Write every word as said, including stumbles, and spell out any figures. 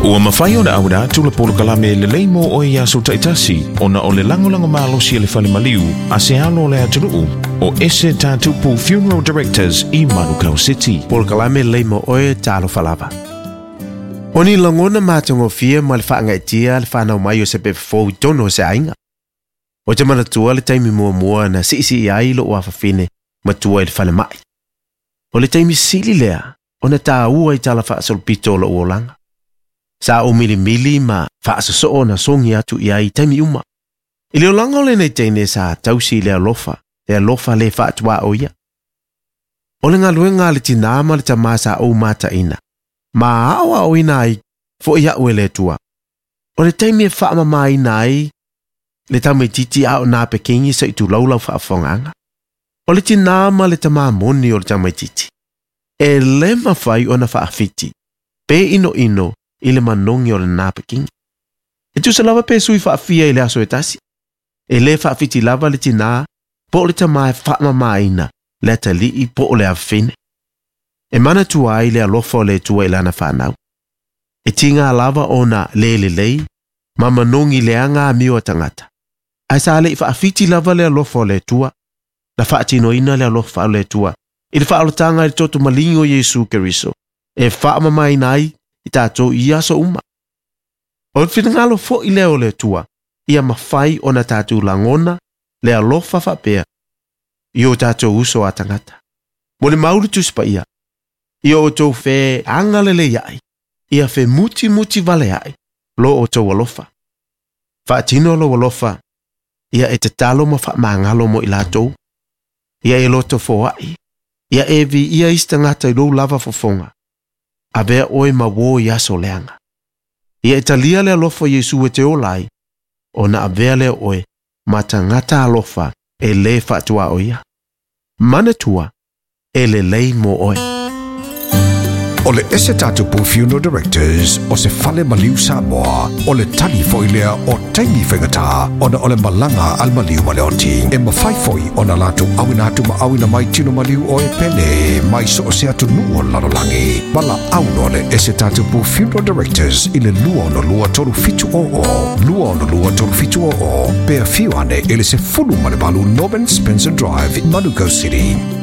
Ua mafai ona auina atu le polokalame lelei mo oe i aso taitasi ona o le lagolago malosi e le fale maliu a se alo o le atunuu o Ese Tatupu Funeral Directors i Manukau City. Polokalame lelei mo oe talofa lava. O ni lagona matagofie ma le faagaetia le fanau mai o se pepe fou i totonu o se aiga. O te manatua le taimi muamua na siisii ai lou afafine matua i le falemai. O le taimi sili lea ona taua i tala faasolopito o lou olaga. Sa ou milimili ma faasosoo na sogi atu i ai i taimi uma. I le olaga o lenei teine sa tausi i le alofa, le alofa le faatuaoia. O le galuega a le tinā ma le tamā sa ou mataina, ma aoaoina ai fo'i a'u e le Atua. O le taimi e faamamaina ai le tamaititi a o napekegi se'i tulou lau faafofogaaga. O le tinā ma le tamā moni o le tamaititi. E lē mafai ona faafiti, pe inoino i le manogi o le napekegi. E tusa lava pe sui faafia i le aso e tasi. E lē faafiti lava le tinā po o le tamā e faamamaina le atalii po o le afafine. E manatua ai le alofa o le Atua i lana fanau. E tiga lava ona lē lelei ma manogi leaga amio a tagata. Ae sa le'i faafiti lava le alofa o le Atua, na faatinoina le alofa o le Atua i le faaolataga i le toto maligi o Iesu Keriso e faamamaina ai i tatou i aso uma. O le finagalo fo'i lea o le Atua, ia mafai ona tatou lagona le alofa faapea i o tatou uso a tagata. Mo le mau le Tusi Paia, ia outou feagalelei ai, ia femutimuti vale ai lo outou alofa. Faatino lou alofa, ia e tatalo ma faamagalo mo i latou, ia e loto foai, ia e viia isi tagata i lou lava fofoga, avea oe ma uō i aso leaga. Ia e talia le alofa o Iesu e te ola ai, ona avea lea o oe ma tagata alofa e lē faatuaoia. Manatua, e lelei mo oe. O le Ese Tatupu Funeral Directors o se fale maliu Samoa, o le tali foi lea o taimi faigata ona o le malaga a le maliu ma le oti. E mafai foi ona latou auina atu ma auina mai tino maliu o e pele mai so o se atunuu o le lalolagi. Valaau loa le Ese Tatupu Funeral Directors i le lua ono lua tolu fitu o o, lua ono lua tolu fitu o o, pe afio ane i le sefulu ma le valu Norman Spencer Drive, Manukau City.